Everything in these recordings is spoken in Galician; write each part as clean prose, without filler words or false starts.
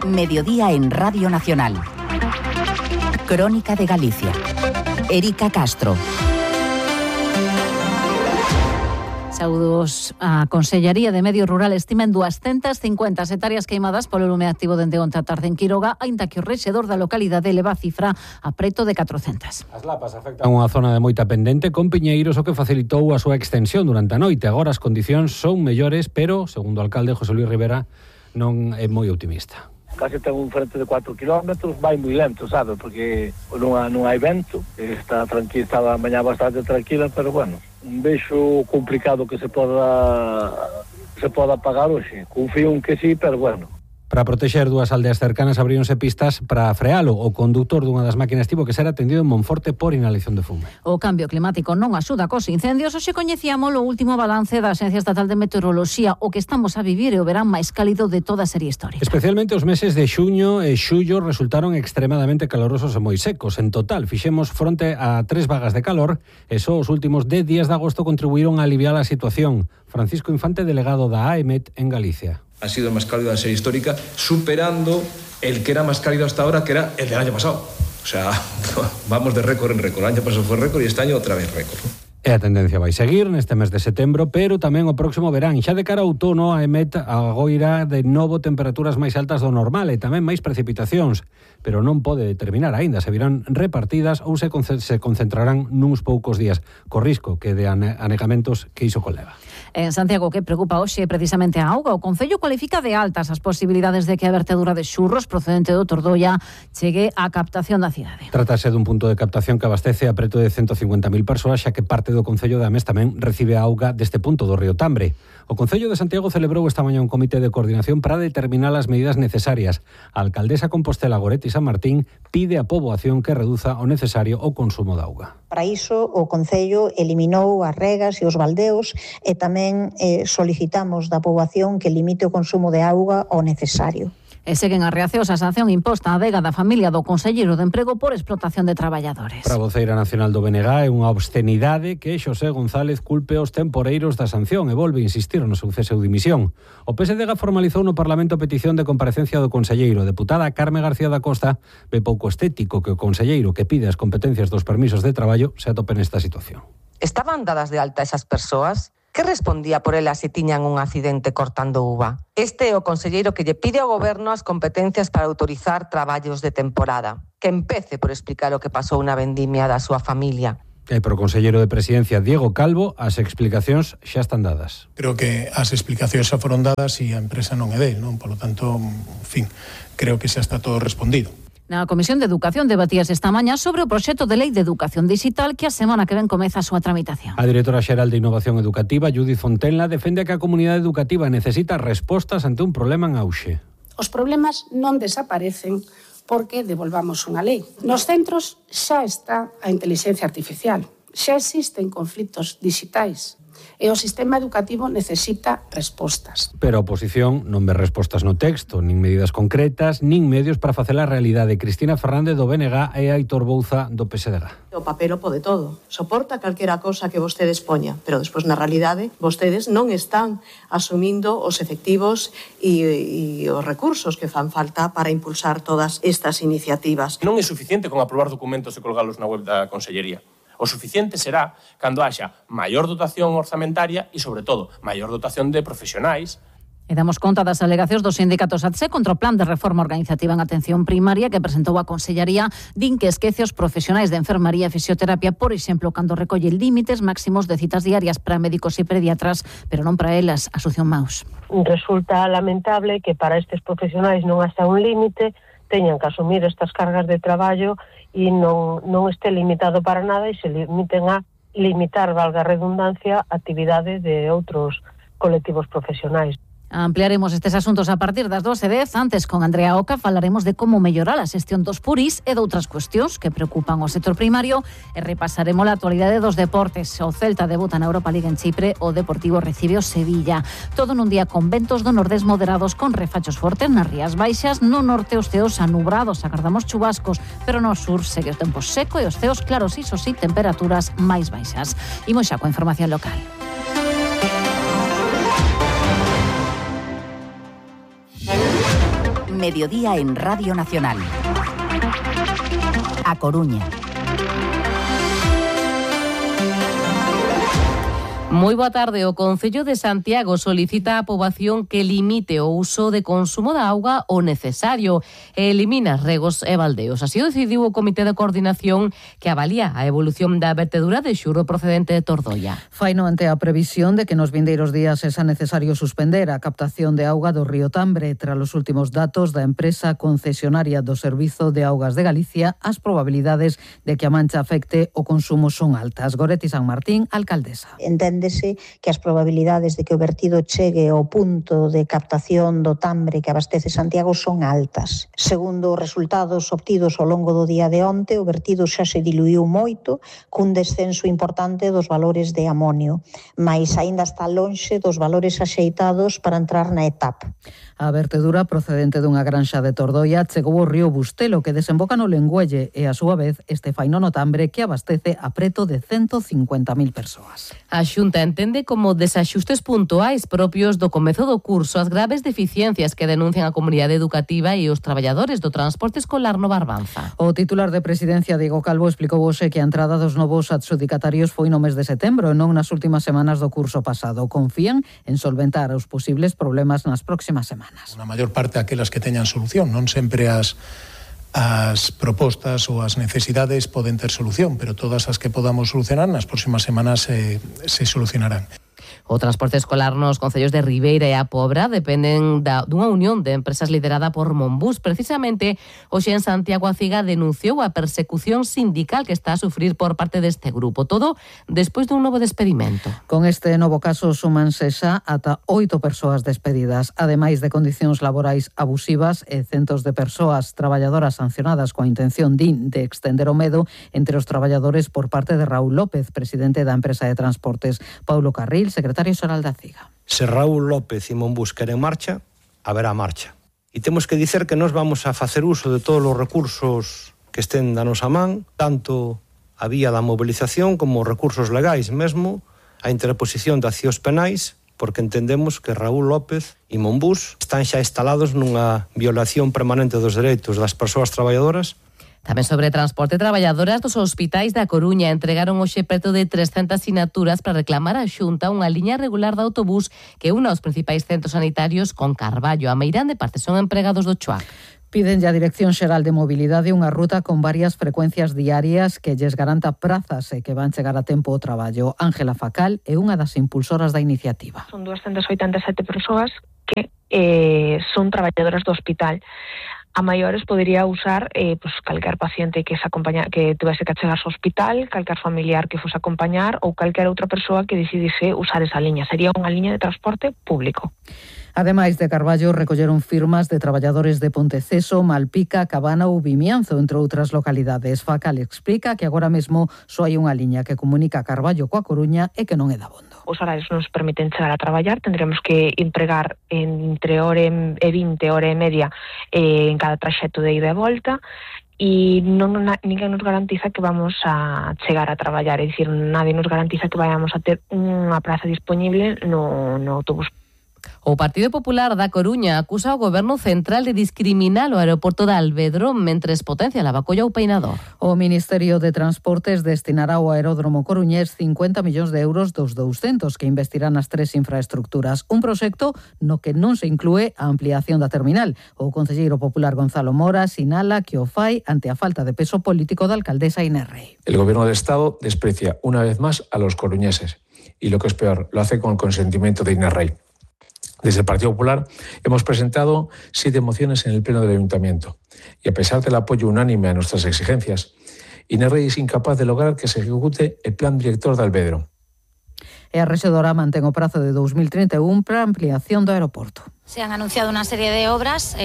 Mediodía en Radio Nacional. Crónica de Galicia. Erika Castro. Saúdos. A Consellería de Medio Rural estima en 250 hectáreas queimadas polo lume activo dende onte a tarde en Quiroga, aínda que o rexedor da localidade eleva a cifra a preto de 400. As lapas afectan unha zona de moita pendente con piñeiros, o que facilitou a súa extensión durante a noite. Agora as condicións son mellores, pero, segundo o alcalde José Luis Rivera, non é moi optimista. Casi ten un frente de 4 kilómetros, vai moi lento, sabe, porque non hai vento, está tranquila, estaba a mañá bastante tranquila, pero bueno, vexo complicado que se poda pagar hoxe. Confío en que sí, pero bueno. Para protexer dúas aldeas cercanas abríronse pistas para frealo. O conductor dunha das máquinas tivo que ser atendido en Monforte por inhalación de fume. O cambio climático non axuda cos incendios. Hoxe coñecíamos o último balance da Axencia Estatal de Meteoroloxía. O que estamos a vivir é o verán máis cálido de toda a serie histórica. Especialmente os meses de xuño e xullo resultaron extremadamente calorosos e moi secos. En total, fixemos fronte a 3 vagas de calor e só os últimos 10 días de agosto contribuíron a aliviar a situación. Francisco Infante, delegado da AEMET en Galicia. Ha sido el más cálido de la serie histórica, superando el que era más cálido hasta ahora, que era el del año pasado. O sea, vamos de récord en récord. El año pasado fue récord y este año otra vez récord. E a tendencia vai seguir neste mes de setembro, pero tamén o próximo verán. Xa de cara ao outono, a EMET agoira de novo temperaturas máis altas do normal e tamén máis precipitacións, pero non pode determinar aínda se virán repartidas ou se concentrarán nuns poucos días, co risco que de anegamentos que iso conleva. En Santiago, que preocupa hoxe precisamente a auga, o Concello cualifica de altas as posibilidades de que a vertedura de xurros procedente do Tordoia chegue á captación da cidade. Trátase dun punto de captación que abastece a preto de 150.000 persoas, xa que parte do Concello de Amés tamén recibe a auga deste punto do río Tambre. O Concello de Santiago celebrou esta mañá un comité de coordinación para determinar as medidas necesarias. A alcaldesa Compostela Goretti San Martín pide a poboación que reduza o necesario o consumo de auga. Para iso, o Concello eliminou as regas e os baldeos e tamén solicitamos da poboación que limite o consumo de auga ao necesario. E seguen as reaccións á sanción imposta á adega da familia do Conselleiro de Emprego por explotación de traballadores. Para a voceira nacional do BNG é unha obscenidade que Xosé González culpe os temporeiros da sanción e volve a insistir no seu cese ou dimisión. O PSDG formalizou no Parlamento a petición de comparecencia do Conselleiro. A deputada Carme García da Costa ve pouco estético que o Conselleiro que pide as competencias dos permisos de traballo se atope nesta situación. Estaban dadas de alta esas persoas? Que respondía por elas se tiñan un accidente cortando uva? Este é o conselleiro que lle pide ao goberno as competencias para autorizar traballos de temporada. Que empece por explicar o que pasou na vendimia da súa familia. E pro conselleiro de Presidencia, Diego Calvo, as explicacións xa están dadas. Creo que as explicacións xa foron dadas e a empresa non é del, non? Por lo tanto, en fin, creo que xa está todo respondido. Na Comisión de Educación debatíase esta mañá sobre o proxecto de lei de educación digital que a semana que ven comeza a súa tramitación. A directora xeral de Innovación Educativa, Judith Fontenla, defende que a comunidade educativa necesita respostas ante un problema en auxe. Os problemas non desaparecen porque devolvamos unha lei. Nos centros xa está a inteligencia artificial, xa existen conflitos digitais. E o sistema educativo necesita respostas. Pero a oposición non ve respostas no texto, nin medidas concretas, nin medios para facer a realidade. Cristina Fernández do BNG e Aitor Bouza do PSDG. O papel o pode todo. Soporta calquera cosa que vostedes poña, pero despois na realidade vostedes non están asumindo os efectivos e os recursos que fan falta para impulsar todas estas iniciativas. Non é suficiente con aprobar documentos e colgalos na web da Consellería. O suficiente será cando haxa maior dotación orzamentaria e, sobre todo, maior dotación de profesionais. E damos conta das alegacións dos sindicatos ATSE contra o plan de reforma organizativa en atención primaria que presentou a Consellería. Din que esquece os profesionais de enfermaría e fisioterapia, por exemplo, cando recolle límites máximos de citas diarias para médicos e pediatras, pero non para elas, Asunción Maus. Resulta lamentable que para estes profesionais non hasta un límite teñan que asumir estas cargas de traballo e non este limitado para nada e se limiten a limitar, valga a redundancia, actividade de outros colectivos profesionais. Ampliaremos estes asuntos a partir das 12:10. Antes, con Andrea Oca, falaremos de como mellorar a xestión dos puris e de outras cuestións que preocupan o sector primario e repasaremos a actualidade dos deportes. O Celta debuta na Europa League en Chipre, o Deportivo recibe o Sevilla. Todo nun día con ventos do nordés moderados con refachos fortes nas Rías Baixas. No norte os ceos anubrados, agardamos chubascos, pero no sur segue o tempo seco e os ceos claros, iso sí, temperaturas máis baixas. Imos xa coa información local. Mediodía en Radio Nacional. A Coruña. Moi boa tarde. O Concello de Santiago solicita á poboación que limite o uso de consumo da auga o necesario e elimina regos e baldeos. Así o decidiu o Comité de Coordinación que avalía a evolución da vertedura de xurro procedente de Tordoia. Faino ante a previsión de que nos vindeiros días é necesario suspender a captación de auga do río Tambre. Tras os últimos datos da empresa concesionaria do Servizo de Augas de Galicia, as probabilidades de que a mancha afecte o consumo son altas. Goretti San Martín, alcaldesa. Enténdese que as probabilidades de que o vertido chegue ao punto de captación do Tambre que abastece Santiago son altas. Segundo os resultados obtidos ao longo do día de onte, o vertido xa se diluiu moito, cun descenso importante dos valores de amonio, mais aínda está lonxe dos valores axeitados para entrar na etapa. A vertedura procedente dunha granxa de Tordoia chegou ao río Bustelo, que desemboca no Lengüelle, e a súa vez este faino no Tambre que abastece a preto de 150.000 persoas. A Xunta entende como desaxustes puntuais propios do comezo do curso as graves deficiencias que denuncian a comunidade educativa e os traballadores do transporte escolar no Barbanza. O titular de Presidencia, Diego Calvo, explicou hoxe que a entrada dos novos adxudicatarios foi no mes de setembro e non nas últimas semanas do curso pasado. Confían en solventar os posibles problemas nas próximas semanas. Na maior parte aquelas que teñan solución, non sempre as propostas ou as necesidades poden ter solución, pero todas as que podamos solucionar nas próximas semanas se solucionarán. O transporte escolar nos concellos de Ribeira e A Pobra dependen dunha unión de empresas liderada por Monbús. Precisamente, hoxe en Santiago a CIGA denunciou a persecución sindical que está a sufrir por parte deste grupo. Todo despois dun novo despedimento. Con este novo caso súmanse xa ata 8 persoas despedidas, ademais de condicións laborais abusivas e centos de persoas traballadoras sancionadas coa intención de extender o medo entre os traballadores por parte de Raúl López, presidente da empresa de transportes. Paulo Carril, secretario xeral da CIGA. Se Raúl López e Monbús queren marcha, haberá marcha. E temos que dicer que nós vamos a facer uso de todos os recursos que estén da nosa man, tanto a vía da movilización como recursos legais, mesmo a interposición de accións penais, porque entendemos que Raúl López e Monbús están xa instalados nunha violación permanente dos dereitos das persoas traballadoras. Tamén sobre transporte, traballadoras dos hospitais da Coruña entregaron hoxe preto de 300 sinaturas para reclamar á Xunta unha liña regular de autobús que una aos principais centros sanitarios con Carballo. A Meirande parte son empregados do CHUAC. Piden ya a Dirección Xeral de Mobilidade unha ruta con varias frecuencias diarias que lles garanta prazas e que van chegar a tempo ao traballo. Ángela Facal é unha das impulsoras da iniciativa. Son 287 persoas que son traballadoras do hospital. A maiores podería usar calquer paciente que tivese que chegar ao hospital, calquer familiar que fose a acompañar ou calquer outra persoa que decidise usar esa liña. Sería unha liña de transporte público. Ademais de Carballo, recolleron firmas de traballadores de Ponteceso, Malpica, Cabana ou Vimianzo, entre outras localidades. Facal explica que agora mesmo só hai unha liña que comunica Carballo coa Coruña e que non é dabondo. Os horarios non nos permiten chegar a traballar, tendremos que empregar entre hora e 20, hora e media en cada traxecto de ida e volta, e ninguén nos garantiza que vamos a chegar a traballar, é dicir, nadie nos garantiza que vayamos a ter unha praza disponible no autobús. O Partido Popular da Coruña acusa ao Goberno Central de discriminar o aeroporto de Alvedro mentres potencia Lavacolla ou Peinador. O Ministerio de Transportes destinará ao aeródromo coruñés 50 millóns de euros dos 200 que investirán nas tres infraestructuras. Un proxecto no que non se inclúe a ampliación da terminal. O concelleiro popular Gonzalo Mora sinala que o fai ante a falta de peso político da alcaldesa Inés Rey. El Gobierno del Estado desprecia una vez más a los coruñeses y lo que es peor, lo hace con el consentimiento de Inés Rey. Desde el Partido Popular hemos presentado 7 mociones en el Pleno del Ayuntamiento y a pesar del apoyo unánime a nuestras exigencias, Inés Rey es incapaz de lograr que se ejecute el plan director de Alvedro. E a rexedora mantén o prazo de 2031 para a ampliación do aeroporto. Se han anunciado una serie de obras,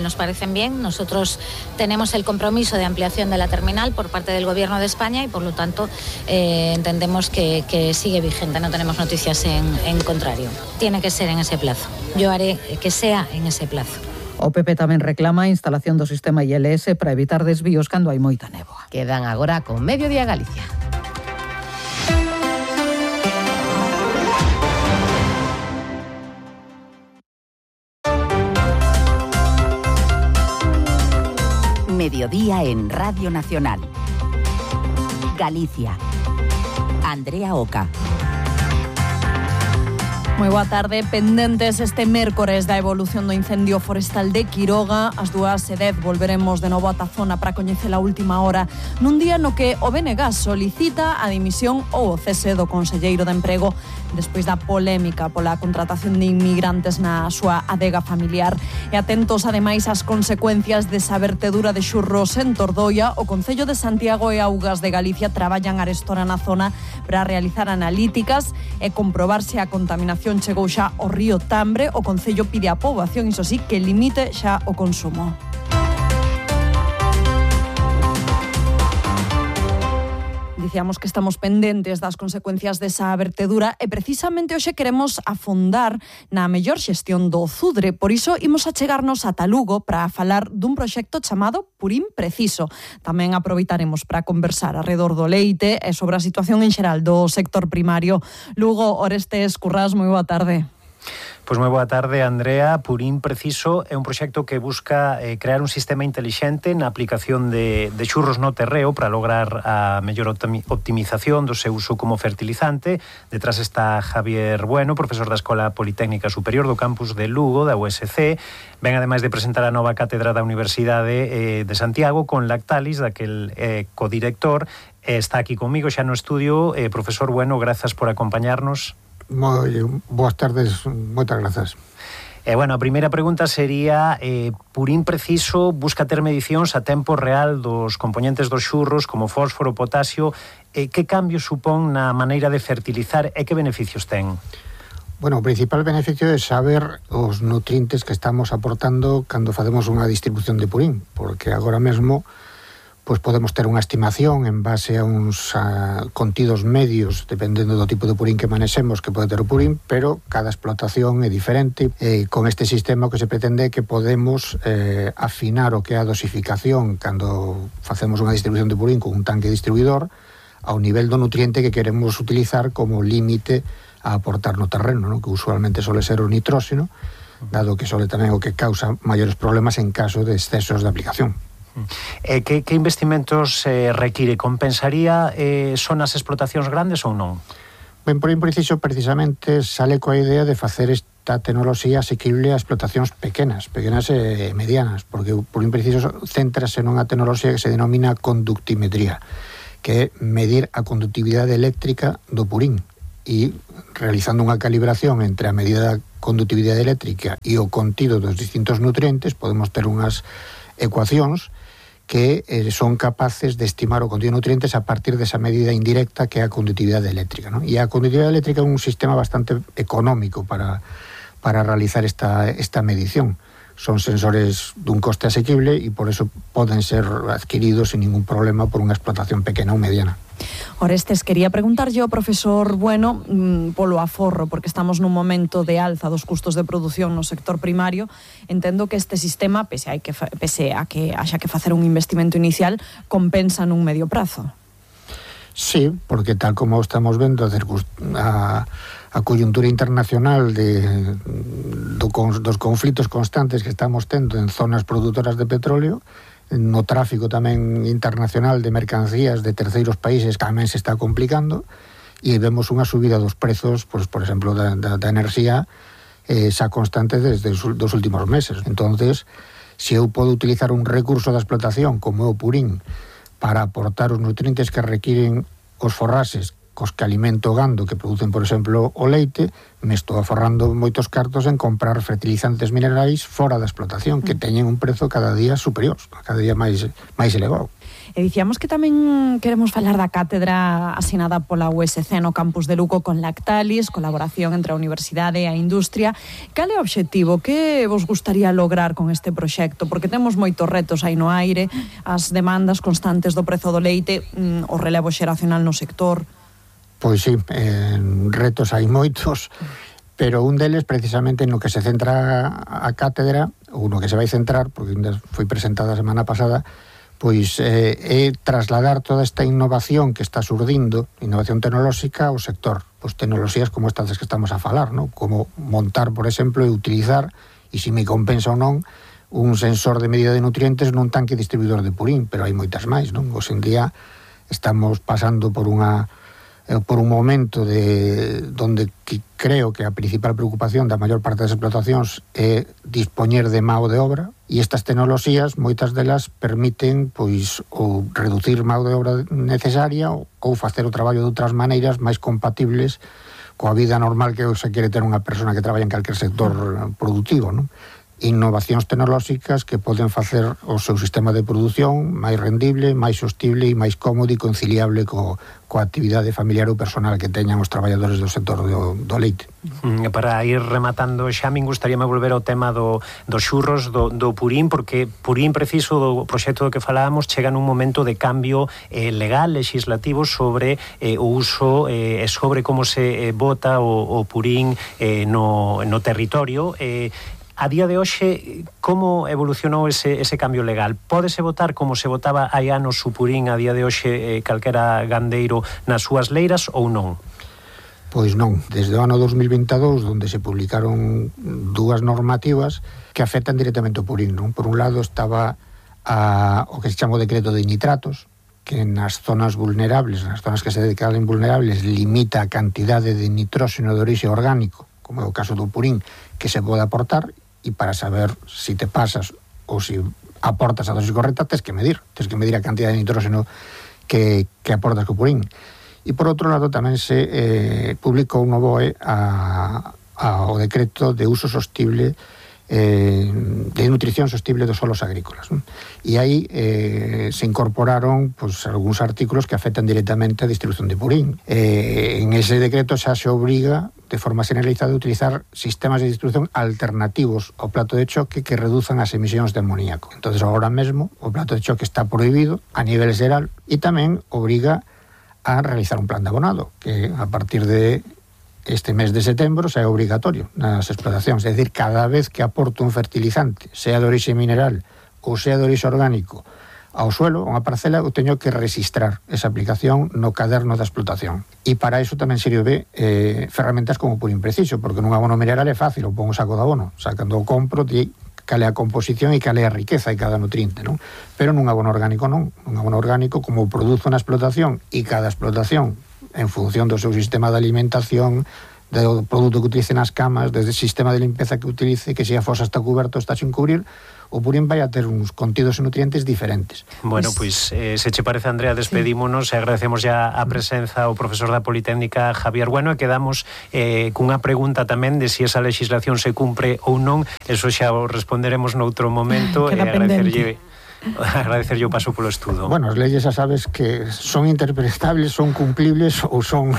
nos parecen bien. Nosotros tenemos el compromiso de ampliación de la terminal por parte del Gobierno de España y, por lo tanto, entendemos que sigue vigente. No tenemos noticias en contrario. Tiene que ser en ese plazo. Yo haré que sea en ese plazo. O PP tamén reclama a instalación do sistema ILS para evitar desvíos cando hai moita néboa. Quedan agora con Mediodía Galicia. mediodía en Radio Nacional. Galicia. Andrea Oca. Moi boa tarde, pendentes este mércores da evolución do incendio forestal de Quiroga. Ás 2:10 volveremos de novo ata a zona para coñecer a última hora nun día no que o BNG solicita a dimisión ou o cese do conselleiro de Emprego despois da polémica pola contratación de inmigrantes na súa adega familiar. E atentos ademais ás consecuencias desa vertedura de xurros en Tordoia. O Concello de Santiago e Augas de Galicia traballan arestora na zona para realizar analíticas e comprobar se a contaminación chegou xa ao río Tambre. O Concello pide á poboación, iso sí, que limite xa o consumo. Dicíamos que estamos pendentes das consecuencias desa vertedura e precisamente hoxe queremos afondar na mellor xestión do Zudre. Por iso imos achegarnos ata Lugo para falar dun proxecto chamado Purín Preciso. Tamén aproveitaremos para conversar alrededor do leite e sobre a situación en xeral do sector primario. Lugo, Orestes Currás, moi boa tarde. Pois moi boa tarde, Andrea. Purín Preciso é un proxecto que busca crear un sistema intelixente na aplicación de xurros no terreo para lograr a mellor optimización do seu uso como fertilizante. Detrás está Javier Bueno, profesor da Escola Politécnica Superior do campus de Lugo, da USC. Ven ademais de presentar a nova cátedra da Universidade de Santiago con Lactalis, daquel codirector. Está aquí comigo xa no estudio. Profesor Bueno, grazas por acompañarnos. Moi boas tardes, moitas grazas. Bueno, a primeira pregunta sería, Purín Preciso busca ter medicións a tempo real dos componentes dos xurros como fósforo, potasio. Que cambio supón na maneira de fertilizar e que beneficios ten? Bueno, o principal beneficio é saber os nutrientes que estamos aportando cando facemos unha distribución de purín, porque agora mesmo pois podemos ter unha estimación en base a uns contidos medios, dependendo do tipo de purín que manexemos, que pode ter o purín, pero cada explotación é diferente. Con este sistema o que se pretende é que podemos afinar o que é a dosificación cando facemos unha distribución de purín con un tanque distribuidor ao nivel do nutriente que queremos utilizar como límite a aportar no terreno, ¿no? Que usualmente suele ser o nitróxeno, dado que suele tamén o que causa maiores problemas en caso de excesos de aplicación. Que investimentos require? Compensaría son as explotacións grandes ou non? Ben, Purín Preciso precisamente sale coa idea de facer esta tecnoloxía asequible a explotacións pequenas e medianas, porque o Purín Preciso céntrase nunha tecnoloxía que se denomina conductimetría, que é medir a conductividade eléctrica do purín e realizando unha calibración entre a medida da conductividade eléctrica e o contido dos distintos nutrientes podemos ter unhas ecuacións que son capaces de estimar o contido de nutrientes a partir desa medida indirecta que é a conductividade eléctrica, ¿no? E a conductividade eléctrica é un sistema bastante económico para realizar esta medición. Son sensores dun coste asequible e por eso poden ser adquiridos sin ningún problema por unha explotación pequena ou mediana. Orestes, quería preguntarlle ao profesor Bueno polo aforro, porque estamos nun momento de alza dos custos de produción no sector primario. Entendo que este sistema, pese a que haxa que facer un investimento inicial, compensa nun medio prazo. Sí, porque tal como estamos vendo a coyuntura internacional dos conflitos constantes que estamos tendo en zonas produtoras de petróleo, no tráfico tamén internacional de mercancías de terceiros países tamén se está complicando e vemos unha subida dos prezos, pois, por exemplo, da enerxía xa constante desde os últimos meses. Entonces, se eu podo utilizar un recurso da explotación como o purín para aportar os nutrientes que requiren os forraxes cos que alimento o gando que producen, por exemplo, o leite, me estou aforrando moitos cartos en comprar fertilizantes minerais fora da explotación, que teñen un prezo cada día superior, cada día máis elevado. E dicíamos que tamén queremos falar da cátedra asinada pola USC no campus de Lugo con Lactalis, colaboración entre a universidade e a industria. Cal é o obxectivo? Que vos gustaría lograr con este proxecto? Porque temos moitos retos aí no aire, as demandas constantes do prezo do leite, o relevo xeracional no sector. Pois sí, retos hai moitos, pero un deles precisamente no que se centra a cátedra, ou no que se vai centrar, porque foi presentada a semana pasada, pois é trasladar toda esta innovación que está surdindo, innovación tecnolóxica ao sector. Pois tecnoloxías como estas que estamos a falar, ¿no? Como montar, por exemplo, e utilizar, e se me compensa ou non, un sensor de medida de nutrientes nun tanque distribuidor de purín, pero hai moitas máis, non? Hoxe en día estamos pasando por un momento donde creo que a principal preocupación da maior parte das explotacións é dispoñer de mao de obra, e estas tecnoloxías, moitas delas, permiten pois ou reducir mao de obra necesaria ou facer o traballo de outras maneiras máis compatibles coa vida normal que se quere ter unha persona que traballa en calquer sector productivo, non? Innovacións tecnolóxicas que poden facer o seu sistema de produción máis rendible, máis sostible e máis cómodo e conciliable coa actividade familiar ou personal que teñan os traballadores do sector do leite. Para ir rematando xa, me gustaríame volver ao tema dos xurros, do purín, porque purín preciso do proxecto do que falábamos chega nun momento de cambio legal, legislativo sobre o uso e sobre como se bota o purín no territorio. A día de hoxe, como evolucionou ese cambio legal? Pódese votar como se votaba hai anos o purín a día de hoxe calquera gandeiro nas súas leiras ou non? Pois non. Desde o ano 2022, onde se publicaron dúas normativas que afectan directamente o purín, non? Por un lado estaba o que se chama o decreto de nitratos, que nas zonas vulnerables, nas zonas que se declaren vulnerables, limita a cantidade de nitróxeno de orixe orgánico, como é o caso do purín, que se pode aportar. E para saber si te pasas ou si aportas a dosis correcta, tens que medir a cantidad de nitróxeno que aportas co purín. E por outro lado tamén se publicou no BOE o decreto de uso sostible de nutrición sostible dos solos agrícolas, non? E aí se incorporaron algúns artículos que afectan directamente a distribución de purín. En ese decreto xa se obriga de forma generalizada a utilizar sistemas de distribución alternativos ao plato de choque que reduzan as emisións de amoníaco. Entonces, agora mesmo, o plato de choque está prohibido a nivel xeral e tamén obriga a realizar un plan de abonado, que a partir de este mes de setembro xa é obrigatorio nas explotacións. É dicir, cada vez que aporto un fertilizante, sea de orixe mineral ou sea de orixe orgánico, ao suelo, unha parcela, eu teño que registrar esa aplicación no caderno da explotación. E para iso tamén sirve ferramentas como purín preciso, porque nun abono mineral é fácil, o pongo un saco de abono. Cando o compro, cal é a composición e cal é a riqueza de cada nutriente, non? Pero nun abono orgánico non. Nun abono orgánico, como o produzo na explotación, e cada explotación, en función do seu sistema de alimentación, do produto que utilice nas camas, desde o sistema de limpeza que utilice, que se a fosa está cuberto ou está sin cubrir, o purín vai a ter uns contidos e nutrientes diferentes. Bueno, pois, se che parece, Andrea, despedímonos e agradecemos ya a presenza ao profesor da Politécnica Javier Bueno, e quedamos cunha pregunta tamén de si esa legislación se cumpre ou non. Eso xa o responderemos noutro momento. Agradecerlle o paso polo estudo. Bueno, as leyes xa sabes que son interpretables, son cumplibles ou son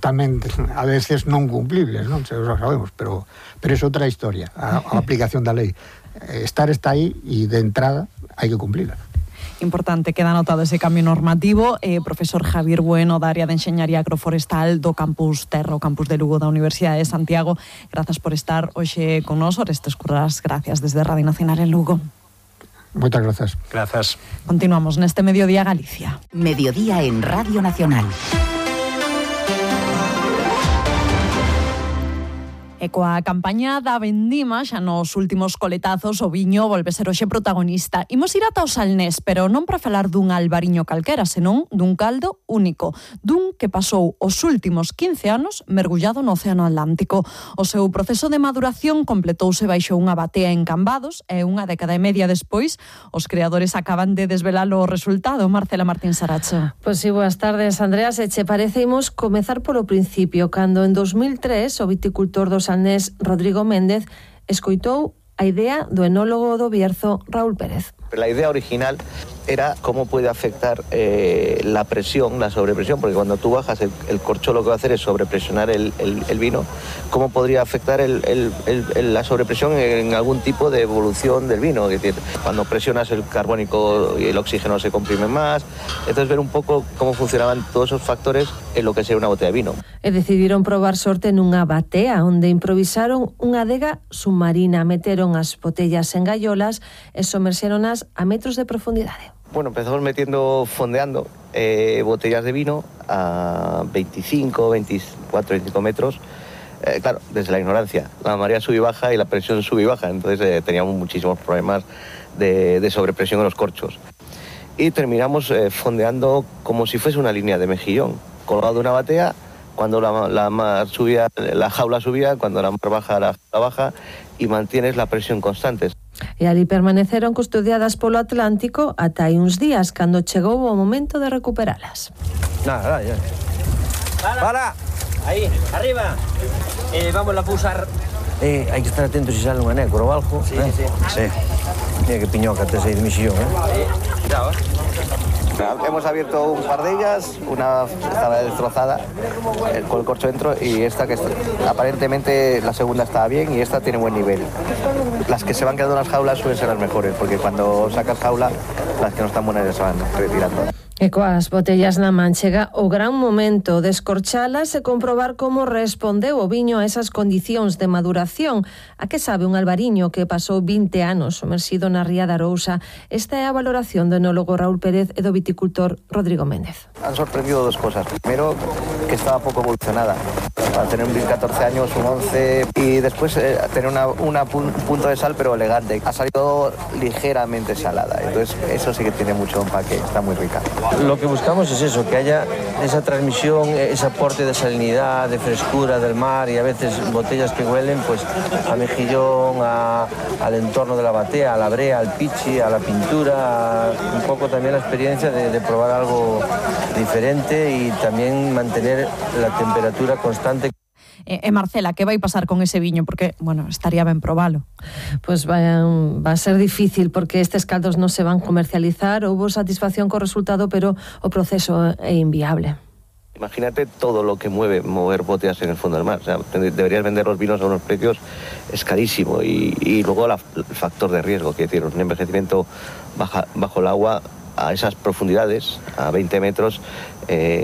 tamén a veces non cumplibles, non? Xa sabemos, pero é outra historia, a aplicación da lei. Está aí e de entrada hai que cumplirla. Importante, queda anotado ese cambio normativo. Profesor Javier Bueno, da área de Enxeñaría Agroforestal do Campus Terra, o Campus de Lugo da Universidade de Santiago. Grazas por estar hoxe con nós. Orestes Currás, gracias desde Radio Nacional en Lugo. Moitas grazas. Grazas. Continuamos neste Mediodía Galicia. Mediodía en Radio Nacional. E coa campaña da vendima, xa nos últimos coletazos, o viño volve ser hoxe protagonista. Imos ir ata o Salnés, pero non para falar dun albariño calquera, senón dun caldo único, dun que pasou os últimos 15 anos mergullado no Océano Atlántico. O seu proceso de maduración completouse baixo unha batea en Cambados e unha década e media despois, os creadores acaban de desvelar o resultado. Marcela Martín Saracho. Pois si, boas tardes, Andrea. Se che parece, imos comezar polo principio, cando en 2003 o viticultor do Salnés Rodrigo Méndez escoitou a idea do enólogo do Bierzo Raúl Pérez. La idea original era cómo puede afectar la presión, la sobrepresión, porque cuando tú bajas el corcho lo que va a hacer es sobrepresionar el vino, cómo podría afectar la sobrepresión en algún tipo de evolución del vino. Es decir, cuando presionas el carbónico y el oxígeno se comprimen más, entonces ver un poco cómo funcionaban todos esos factores en lo que sería una botella de vino. E decidiron probar sorte nunha batea, onde improvisaron unha adega submarina, meteron as botellas en gaiolas e somerxéronas a metros de profundidade. Bueno, empezamos fondeando botellas de vino a 25, 24, 25 metros Claro, desde la ignorancia, la marea sube y baja y la presión sube y baja, entonces teníamos muchísimos problemas de sobrepresión en los corchos. Y terminamos fondeando como si fuese una línea de mejillón, colgado de una batea, cuando la mar subía, la jaula subía, cuando la mar baja, la jaula baja, y mantienes la presión constante. E ali permaneceron custodiadas polo Atlántico ata hai uns días, cando chegou o momento de recuperalas. Nada, ya. ¡Para! Ahí, arriba. Vamos a pulsar. Hai que estar atentos si sale unha nécora ou algo. Sí, sí. Sí. Mira que piñoca tes aí de mexillón, Cuidado, Hemos abierto un par de ellas, una estaba destrozada con el corcho dentro y esta que aparentemente la segunda estaba bien y esta tiene buen nivel. Las que se van quedando en las jaulas suelen ser las mejores porque cuando sacas jaula las que no están buenas ya se van retirando. E coas botellas na man chega o gran momento de escorchalas e comprobar como respondeu o viño a esas condicións de maduración. A que sabe un albariño que pasou 20 anos somersido na ría da Arousa? Esta é a valoración do enólogo Raúl Pérez e do viticultor Rodrigo Méndez. Han sorprendido dos cosas. Primero, que estaba poco evolucionada. Para tener un vin 14 años, un 11 y después tener un punto de sal pero elegante. Ha salido ligeramente salada. Entonces eso sí que tiene mucho empaque, está muy rica. Lo que buscamos es eso, que haya esa transmisión, ese aporte de salinidad, de frescura del mar y a veces botellas que huelen pues a mejillón, al entorno de la batea, a la brea, al pichi, a la pintura, un poco también la experiencia de probar algo diferente y también mantener la temperatura constante. Marcela, que vai pasar con ese viño? Porque, bueno, estaría ben probalo. Pues va a ser difícil porque estes caldos non se van comercializar. Houbo satisfacción co resultado, pero o proceso é inviable. Imagínate todo lo que mover botellas en el fondo del mar. O sea, deberías vender los vinos a unos precios, es carísimo. Y luego el factor de riesgo que tiene un envejecimiento bajo el agua a esas profundidades, a 20 metros,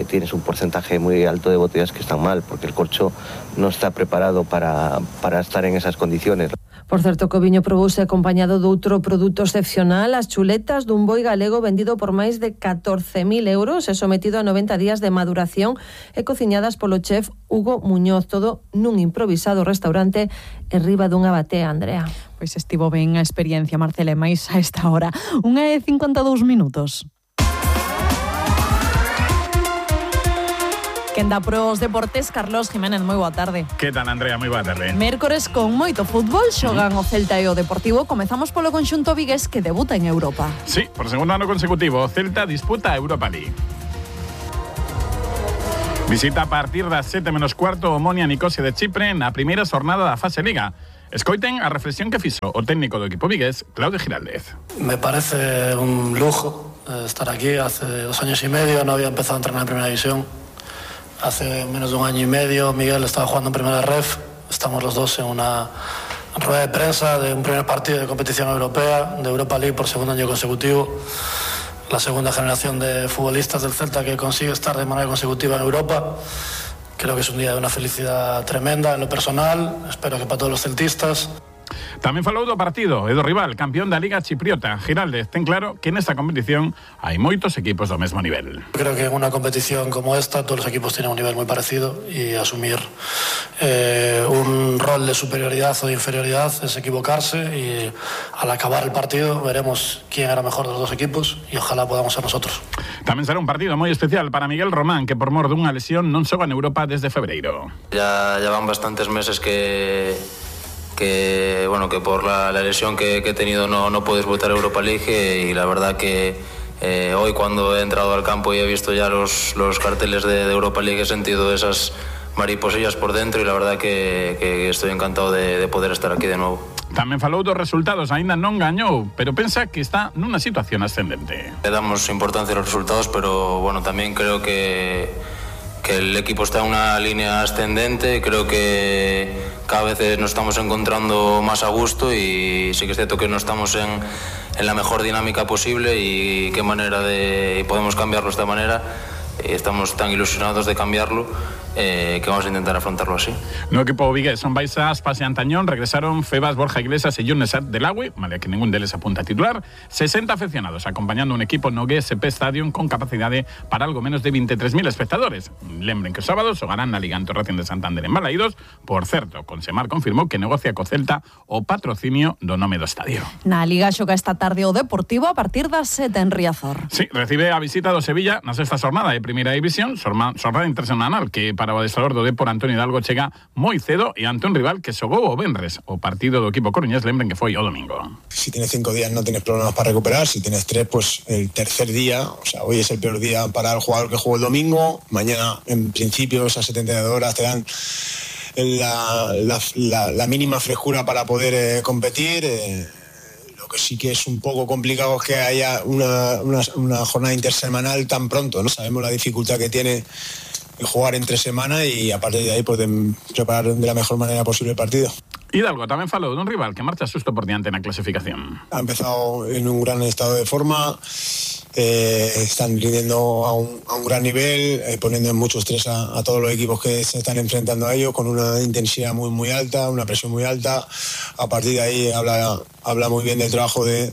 tienes un porcentaje muy alto de botellas que están mal, porque el corcho no está preparado para estar en esas condiciones. Por certo, que o viño probouse acompañado doutro produto excepcional, as chuletas dun boi galego vendido por máis de 14.000 euros e sometido a 90 días de maduración e cociñadas polo chef Hugo Muñoz, todo nun improvisado restaurante en riba dunha batea, Andrea. Pois estivo ben a experiencia, Marcela, e máis a esta hora. 1:52 minutos. Quen dá pros deportes, Carlos Jiménez, moi boa tarde. Que tal, Andrea? Moi boa tarde. Mércores con moito fútbol, xogan o Celta e o Deportivo. Comezamos polo conxunto vigués que debuta en Europa. Sí, por segundo ano consecutivo, o Celta disputa a Europa League. Visita a partir das 7:15 o Omonia Nicosia de Chipre na primeira xornada da fase Liga. Escoiten a reflexión que fixo o técnico do equipo vigués, Claudio Giraldez. Me parece un lujo estar aquí. Hace 2 años y medio no había empezado a entrenar en primera división. Hace menos de 1 año y medio Miguel estaba jugando en primera ref. Estamos los dos en una rueda de prensa de un primer partido de competición europea, de Europa League por segundo año consecutivo. La segunda generación de futbolistas del Celta que consigue estar de manera consecutiva en Europa. Creo que es un día de una felicidad tremenda en lo personal. Espero que para todos los celtistas. Tamén falou do partido e do rival, campeón da Liga Chipriota. Giraldez ten claro que nesta competición hai moitos equipos do mesmo nivel. Creo que en una competición como esta todos los equipos tienen un nivel muy parecido y asumir un rol de superioridad o de inferioridad es equivocarse y al acabar el partido veremos quién era mejor de los dos equipos y ojalá podamos ser nosotros. Tamén será un partido moi especial para Miguel Román, que por mor dunha lesión non xoga en Europa desde febreiro. Ya van bastantes meses que por la lesión que he tenido no puedes votar Europa League y la verdad que hoy cuando he entrado al campo y he visto ya los carteles de Europa League he sentido esas mariposillas por dentro y la verdad que estoy encantado de poder estar aquí de nuevo. Tamén falou dos resultados, aínda non gañou, pero pensa que está nunha situación ascendente. Le damos importancia a los resultados, pero bueno, también creo que el equipo está en una línea ascendente. Creo que cada vez nos estamos encontrando más a gusto y sí que es cierto que no estamos en la mejor dinámica posible y qué manera podemos cambiarlo de esta manera. Estamos tan ilusionados de cambiarlo que vamos a intentar afrontarlo así. No equipo vigués son Baixas, Pase Antañón, regresaron Febas, Borja Iglesias y Yunes del Agüe, vale que ningún deles apunta a titular, 60 aficionados acompañando un equipo no GSP Stadium con capacidad para algo menos de 23.000 espectadores. Lembren que o sábado xogarán na Liga ante o Racing de Santander en Balaídos. Por certo, Consemar confirmou que negocia co Celta o patrocinio do nome do estadio. Na Liga xoga esta tarde o Deportivo a partir das 7 en Riazor. Sí, recibe a visita do Sevilla na sexta xornada de Primeira División, xornada internacional que para o adestrador do Depor Antonio Hidalgo chega moi cedo e ante un rival que xogou o venres. O partido do equipo coruñés, lembren que foi o domingo. Si tienes 5 días no tienes problemas para recuperar, si tienes 3, pues el tercer día, o sea, hoy es el peor día para el jugador que jugó el domingo, mañana en principio esas 72 horas te dan la mínima frescura para poder competir. Lo que sí que es un poco complicado es que haya una jornada intersemanal tan pronto, ¿no? Sabemos la dificultad que tiene jugar entre semana y a partir de ahí poder preparar de la mejor manera posible el partido. Hidalgo tamén falou dun rival que marcha susto por diante na clasificación. Ha empezado en un gran estado de forma, están rindiendo a un gran nivel, poniendo en mucho estrés a todos los equipos que se están enfrentando a ellos, con una intensidad muy alta, una presión muy alta. A partir de ahí habla muy bien del trabajo de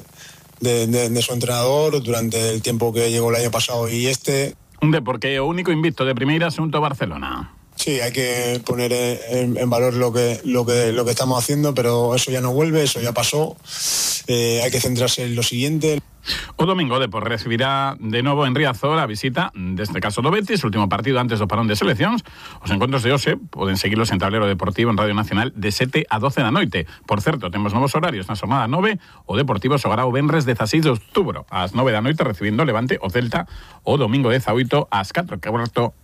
su entrenador durante el tiempo que llegó el año pasado y este. Un Depor que é o único invicto de primeira xunto a Barcelona. Sí, hay que poner en valor lo que estamos haciendo, pero eso ya no vuelve, eso ya pasó. Hay que centrarse en lo siguiente. O domingo o Depor recibirá de novo en Riazor a visita deste caso do Betis, último partido antes do parón de seleccións. Os encontros de hoxe poden seguirlos en Tablero Deportivo en Radio Nacional de 7 a 12 da noite. Por certo, temos novos horarios na xornada 9. O Deportivo xogará o venres 16 de outubro ás 9 da noite recibindo Levante o Celta o domingo 18 ás 4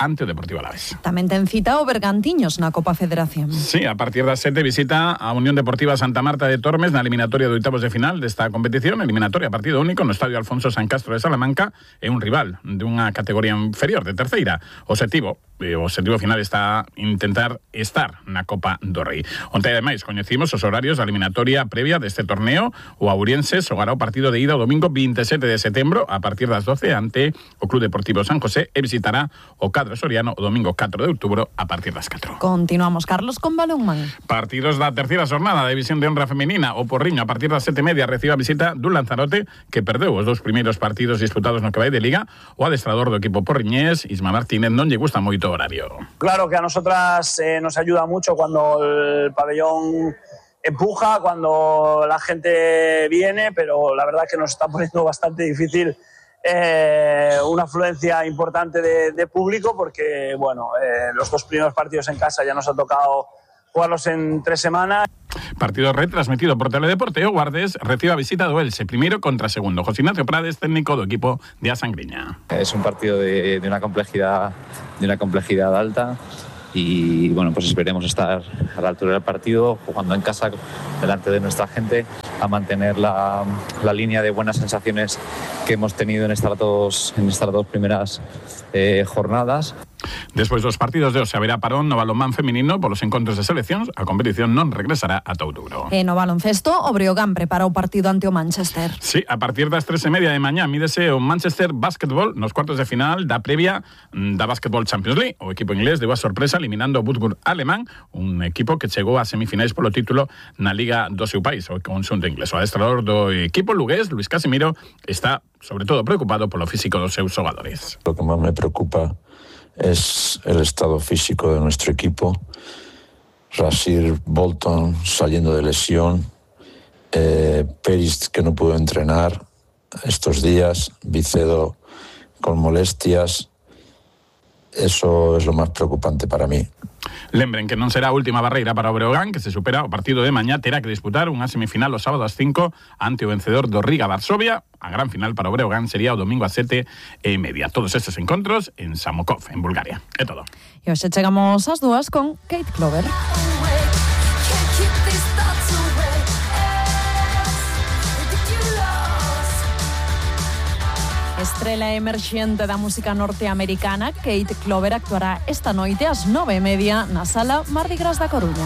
ante o Deportivo Alavés. Tamén ten cita o Bergantiños na Copa Federación. Sí, a partir das 7 visita a Unión Deportiva Santa Marta de Tormes na eliminatoria de oitavos de final desta competición, eliminatoria partido único no Estadio Alfonso San Castro de Salamanca, é un rival dunha categoría inferior de terceira. O objetivo final está intentar estar na Copa do Rei. Onte ademais coñecimos os horarios da eliminatoria previa deste torneo. O Auriense xogará o partido de ida o domingo 27 de setembro a partir das 12 ante o Club Deportivo San José e visitará o Cadro Soriano o domingo 4 de outubro a partir das 4. Continuamos, Carlos, con balonmán. Partidos da terceira xornada da División de Honra Femenina. O Porriño a partir das 7:30 recibe a visita dun Lanzarote que perdeu os dous primeiros partidos disputados no que vai de Liga. O adestrador do equipo porriñés, Isma Martínez, non lle gusta moito o horario. Claro que a nosotras nos ayuda mucho cuando el pabellón empuja, cuando la gente viene, pero la verdad es que nos está poniendo bastante difícil una afluencia importante de público porque, bueno, los dos primeros partidos en casa ya nos ha tocado jugarlos en 3 semanas. Partido retransmitido por Teledeporte. O Guardes recibe a visita do Elche, primeiro contra segundo. José Ignacio Prades, técnico do equipo de A Sangriña. Es un partido de una complejidad alta y bueno, pues esperemos estar a la altura del partido, jugando en casa delante de nuestra gente, a mantener la línea de buenas sensaciones que hemos tenido en estas dos primeras jornadas. Despois dos partidos de hoxe haberá parón no balonmán feminino polos encontros de seleccións. A competición non regresará ata outubro. E no baloncesto, o Breogán prepara o partido ante o Manchester. Sí, a partir das 3:30 de mañá mídese o Manchester Basketball nos cuartos de final da previa da Basketball Champions League. O equipo inglés deu a sorpresa eliminando o Würzburg alemán, un equipo que chegou a semifinais polo título na Liga do seu país, o conxunto inglés. O adestrador do equipo lugués, Luis Casimiro, está sobre todo preocupado polo físico dos seus xogadores. Lo que máis me preocupa es el estado físico de nuestro equipo. Rasir Bolton saliendo de lesión, Peris que no pudo entrenar estos días, Vicedo con molestias. Eso es lo más preocupante para mí. Lembren que non será a última barreira para o Breogán, que se supera o partido de mañá, terá que disputar unha semifinal o sábado ás 5 ante o vencedor do Riga Varsovia. A gran final para o Breogán sería o domingo ás 7:30. Todos estes encontros en Samokov, en Bulgaria. É todo. E hoxe chegamos ás 2 con Kate Clover. Estrela emerxente da música norteamericana, Kate Clover actuará esta noite ás 9:30 na Sala Mardi Gras da Coruña.